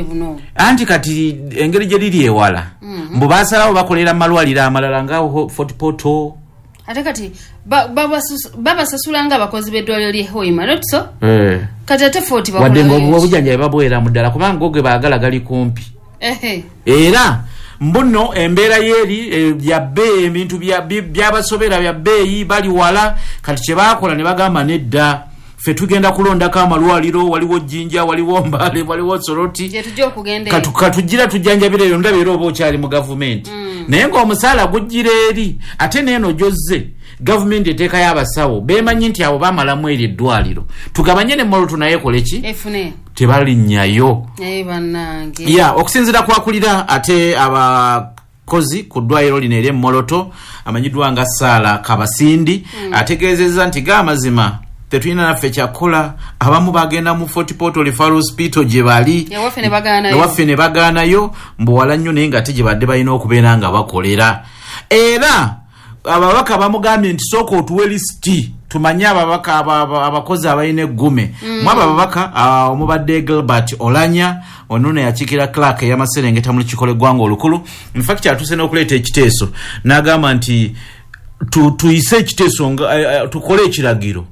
Buno. Anti kati engeri gye liri ewala, mbu basalawo bakolera mu malwaliro amalala nga Fort Portal. Ate kati babasasula nga abakozi b'eddwaliro ly'e Hoima, not so? Eh. Kati ate Fort wadde nga bakolayo ki? Obujjanjabi babwera mu ddala kubanga go ge baagala gali kumpi. Era mbuno embeera yeeri ya bbeeyi, ebintu byabasobera bya bbeeyi, bali wala. Kati kye baakola ne bagamba, nedda, ffe tugenda kulondako amalwaliro, waliwo Jjinja, waliwo Mbale, waliwo Soroti. Gye tujja okugenda eyo. Katugira tujjanjabira eyo. Ndaba era oba okyali mu gavumenti, naye ng'omusaala gujjira eri, ate neeno gyozze gavumenti eteekayo abasawo beemanyi nti abo bamalamu eri eddwaliro, tugabanye ne Moroto naye ekole ki? Efune. Tebalinnyayo. Naye bannange. Ya, okusinziira kwakulira ate abakozi ku ddwaliro lino eri Moroto, amanyiddwa nga Saala Kabasindi, ategeezezza nti ga amazima tetulina naffe kyakukola, abamu bagenda mu Fort Portal Referral Hospital gye bali. Ewaffe ne bagaanayo. Ewaffe ne bagaanayo, mbuwala nnyo, naye nga ate gye badde balina okubeera nga bakolera. Era ababaka bamugambye nti sooka otuwe lisiti tumanye ababaka abakozi abalina eggume. Mu abo ababaka omubadde Gilbert Olanya, ono yakiikira Clark ey'amaserengeta mu lukiiko lw'eggwanga olukulu. Infact atuuse n'okuleeta ekiteeso n'agamba nti tuyise ekiteeso nga tukole ekiragiro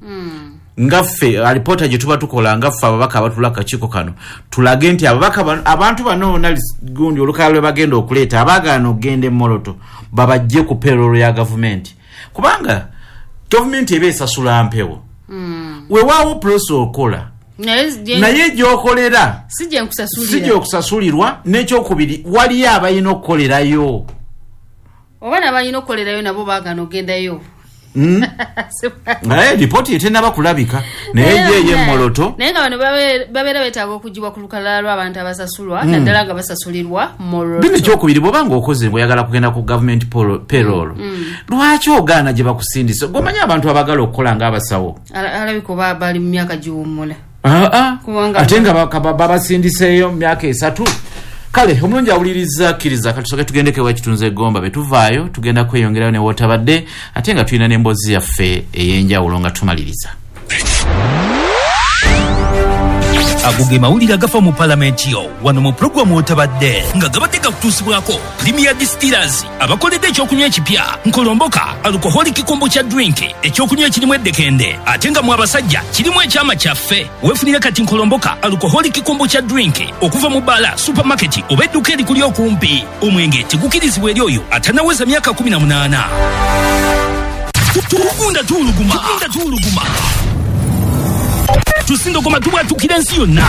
nga ffe alipoota gye tuba tukola nga ffe ababaka abatula akakiiko kano, tulage nti ababaka abantu bano bonna gundi olukalala lwe bagenda okuleeta abaagaana okugenda Emoloto babajje ku payroll ya gavumenti, kubanga gavumenti eba esasula mpewo. Weewaawo process okola, naye naye gyokolera si gye nkusasulira. Si gyokusasulirwa. N'ekyokubiri, waliyo abalina okukolerayo. Oba nabalina okukolerayo nabo baagaana okugendayo. Naye ripooti etenaba kulabika, naye ye ey'Emoloto. Naye nga bano babeera beetaaga okugibwa ku lukalala lw'abantu abasasulwa, naddala nga basasulirwa Bino. Moroto. Ekyokubiri, bw'oba ng'okoze ng'oyagala kugenda ku gavumenti payroll, lwaki ogaana gye bakusindisa? Gomanyi abantu abagala okukola ng'abasawo. Alabika oba bali mu myaka giwummula. Aa, Kubanga ate nga babasindiseeyo mu myaka 3. Kale omulungi awuliriza, kkiriza katusoke tugendeko ewa kitunzi egomba. Betuvaayo tugenda kweyongerayo ne wootabadde, ate nga tulina n'emboozi yaffe ey'enjawulo nga tumaliriza. Ago ge mawulire agafa mu palamenti yo wano mu pulogulaamu Otabadde, nga gabadde gakutuusibwako Premier Distillers, abakoledde ekyokunywa ekipya Nkolomboka alcoholic kombucha drink, ekyokunywa ekirimu eddekende ate nga mu abasajja kirimu ekyama kyaffe. Weefunire kati Nkolomboka alcoholic kombucha drink okuva mu bbaala, supermarket oba edduka erikuli okumpi. Omwenge tegukirizibwa eri oyo atanaweza myaka 18. Tugunda tuwuluguma, tugunda tuwuluguma, tusindogoma, tubwatukira ensi yonna.